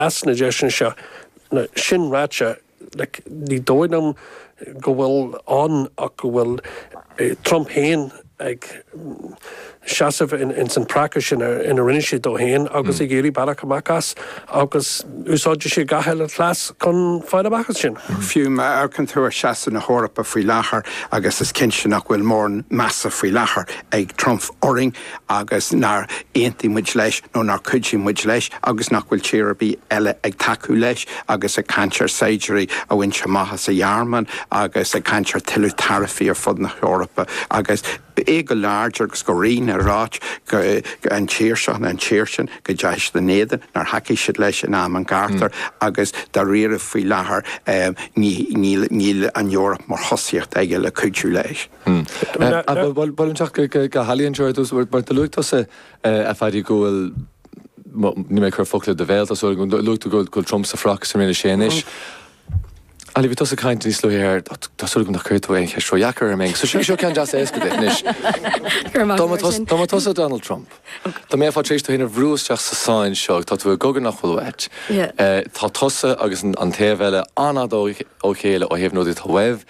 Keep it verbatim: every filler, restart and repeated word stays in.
As na deiseanna seo. Sin ráite, like, ní dóigh liom go bhfuil ann ach go bhfuil Trump féin ag seasamh in san práca sin ina rinne sé dó féin agus ag iarraidh bealach amach as agus úsáidfidh sé gach uile chleas chun fáil amach as sin. Fiú má amharcann tú ar seasamh na hEorpa faoi láthair agus is cinnte nach bhfuil mórán measa faoi láthair ag Trump orainn agus nár aontaigh muid leis nó nár chuidigh muid leis agus nach bhfuil tír ar bith eile ag tacú leis agus ag caint ar saighdiúirí a bhaint amach as an Ghearmáin agus ag caint ar tuilleadh taraifí ar fud na hEorpa agus é go láidir agus go righin ag ráit go an tír seo an tír sin go dteachaigh siad in éadan nár thacaigh siad leis in am an ghártair agus dáiríre faoi láthair níl an Eoraip mar thosaíocht aige le cuidiú leis. Bhuel teach go hAilí anseo ar dtús mar do luaigh tusa a Phaddy go bhfuil ní mé chur focla i do bhéal tá luaigh tú go bhfuil Trump sa phraic sa rinne sé anois. Ali bhí tusa ag caint níos luaithe ar tá súil agam nach gcuirfidh tú aon cheist ródheacair orm. So seo ceann deas éasca duit anois. Dá mba tusa Donald Trump. Dá mbeifeá tar éis tú féin a bhrú isteach sa sáinn seo tá tú i gcogadh nach bhfuil uait. Tá tusa agus an taobh eile an-fhada ó chéile ó thaobh na rudaí atá uaibh.